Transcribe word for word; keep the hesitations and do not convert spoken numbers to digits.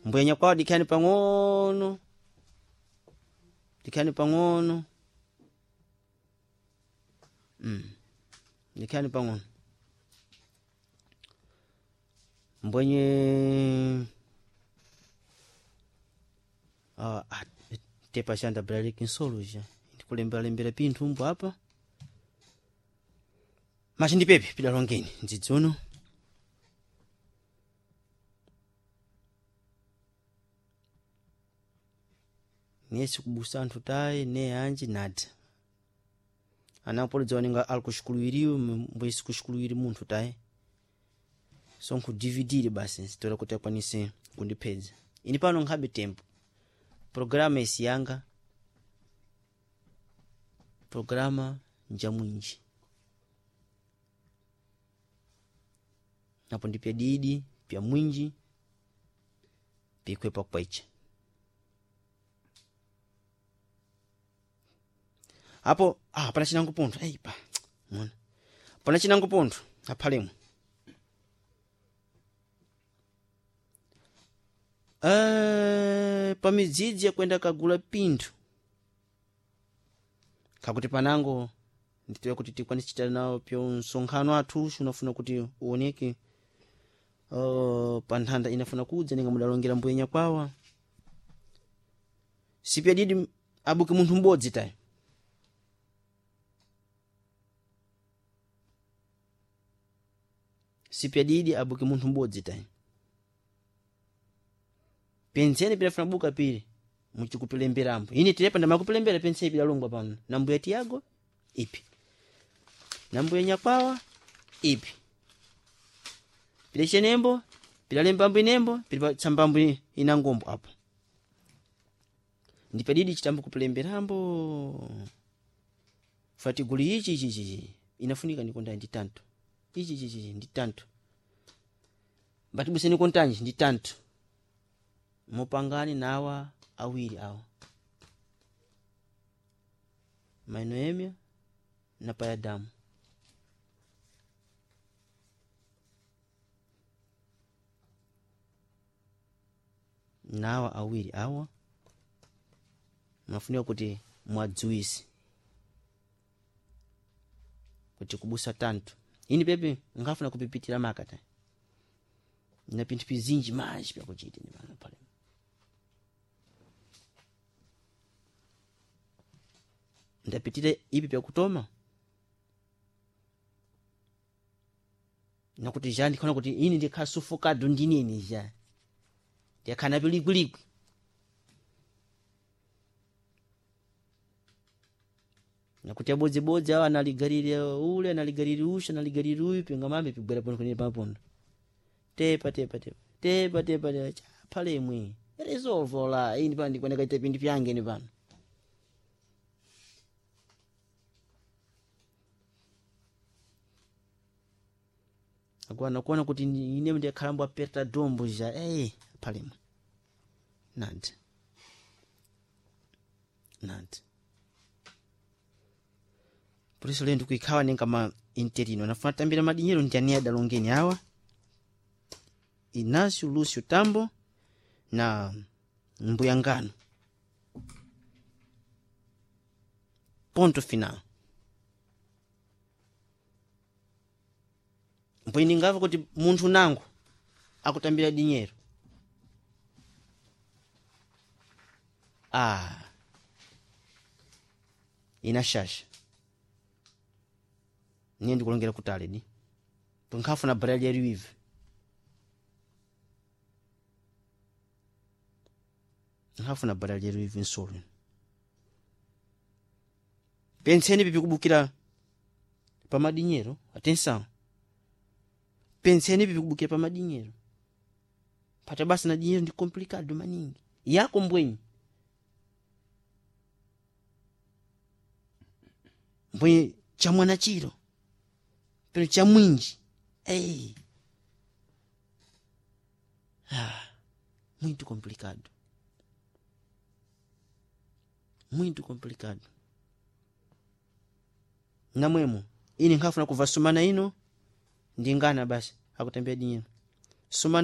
Mbuya nyakwawa dikhani pang'ono, dikhani pang'ono, mm. Dikhani pang'ono mbwenye ah, ah, tepa xanda braleki nsolo ja ndikulemberalembera pinthu mbo apa machi ndi pepe pidalongeni mdzidzi uno. Niye sikubusa anthu tayi ne anji nada anapolidza waninga ali kuxikuluwiriwe mbwe sikuxikuluwiri munthu tayi, so nkhudividire basi sitola kuti akwanise kundiphedza ini pano nkhabe tempo programa isi yanga programa njamwinji napo ndi pya didi pya mwinji pikwepa kwecha apo ah, pana chinango pontho eipa mona pana chinango pontho aphalemo. Eh, pamidzidzi yakwenda kagula pinthu kakuti panango nditoya kuti tikwanise chita nawo pyo msonkhano athu unafuna kuti uoneke uh, pa nthanda inafuna kudza ninga mudalongera mbuya nyakwawa sipyadidi abuke munthu m'bodzi tayi sipyadidi abuke munthu m'bodzi tayi penseni pinafuna buka pili muchikupilemberambo ine tilepa ndamakupilembera penseni pidalongwa pano na mbuya Tiago ipi na mbuya nyakwawa ipi pilechenembo pilalembambo inembo pili tsambambo inangombo apo ndipadidi chitambo kupilemberambo fatiguli ichi ichi ichi inafunika nikonda ndi tanto ichi ichi ichi ndi tanto mbatibuseni kontanji ndi tanto mupangane nawa awiri awa mainoemia na payadamu nawa awiri awa mafunika kuti mwadziwise kuti kubusa tanto ini pepe ngafuna kupipitira makata na pinthu pizinji manji pyakuchita ni pano pale ndapitire ipi pyakutoma nakuti ja ndikhona kuti ini ndikhasufukadu ndinini ja ndiyakhana pilikwilikwi nakuti abodzibodzi awo analigalire ule analigalire usha analigalire uyu pingamambe pigwera pono kunene papondo tepa tepa tepa tepa tepa tepa chaphalemwe resolvola ini pano ndikuoneka ite pinthu pyange ini pano akuana kuona kuti ine ndikhalambo aperta dombo ja eh phalemwe nandi nandi por isso lendo kuikhawa nenga ma interino nafuna tambira madinyero ndi ani adalongeni awa Inácio Lúcio Tambo na Mbuyangano ponto final mpwiningava kuti munthu nangu akutambira dinyero ah ina shasha niye ndikulongera kutali di tunkhafuna barali ya riwive nkhafuna barali ya riwive nsolo penseni pipikubukira pamadinyero atenção penseni pipikubukira pamadinyero pata basi na dinheiro ndi complicado maningi yako mbwenyi mbwenyi chamwana chiro pero cha mwinji ei ah, muito complicado muito complicado namwemo ini nkhafuna kuva sumana ino ndingana basi akutembea dinheiro sumana.